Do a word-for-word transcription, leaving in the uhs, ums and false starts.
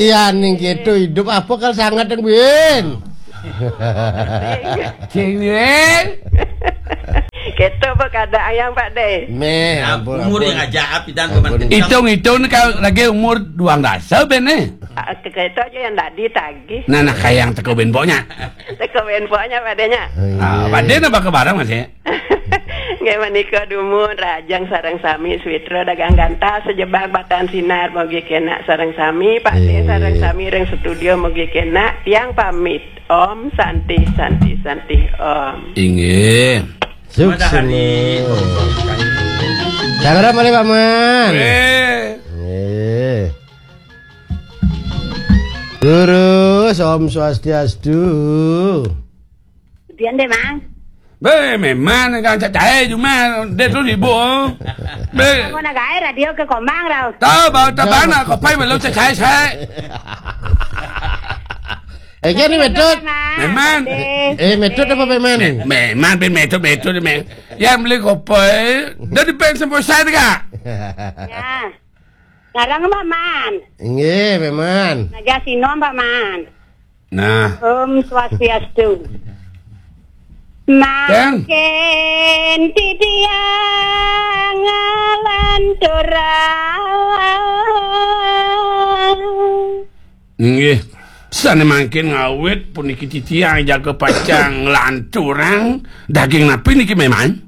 Iya, ning gitu hidup apa kal sangat yang bin? Sing, Win. Gitu apa keadaan yang Pak De? Meh, Nah, ampun, umur ampun. Yang aja api dan Ampun. Pemantin. Hitung-hitung kalau lagi umur duang dasa ben eh. Ah, ke itu aja yang tadi tagih. Nah, nah, kayak yang teko ben poknya. Teko ben poknya Pak De nya. Ah, Pak De napa ke barang masih? Nggih menika dumun Rajang sareng sami Switra dagang gantal sejebak batan sinar mogi kena sareng sami Pak De Iya. Sareng sami ring studio mogi kena tiang pamit Om Santi Santi Santi Om. Inggih. Sukses. Matahari. Tangra malih Pak Man. Eh. Eh. Terus Om Swastiastu. Dian deh, Mang. Be, memang kan cacai cuma dia tu sibuk. Be. Aku nak gaya radio ke Komang rau. Tahu bau tabana kau pai belum cacai saya. Eh, kan ni metod. Memang. Eh, metod apa memang? Memang ben metod metod memang. Yang beli kopi dari pen sampai saya juga. Ya. Larang Pak Man. Inggih, Pak Man. Naja sinom Pak Man. Nah. Om Swastiastu. Makin titiang ngalanturang. Inggih. Sane mangkin ngawit puniki titiang jaga pacang nglanturang daging napi niki memang?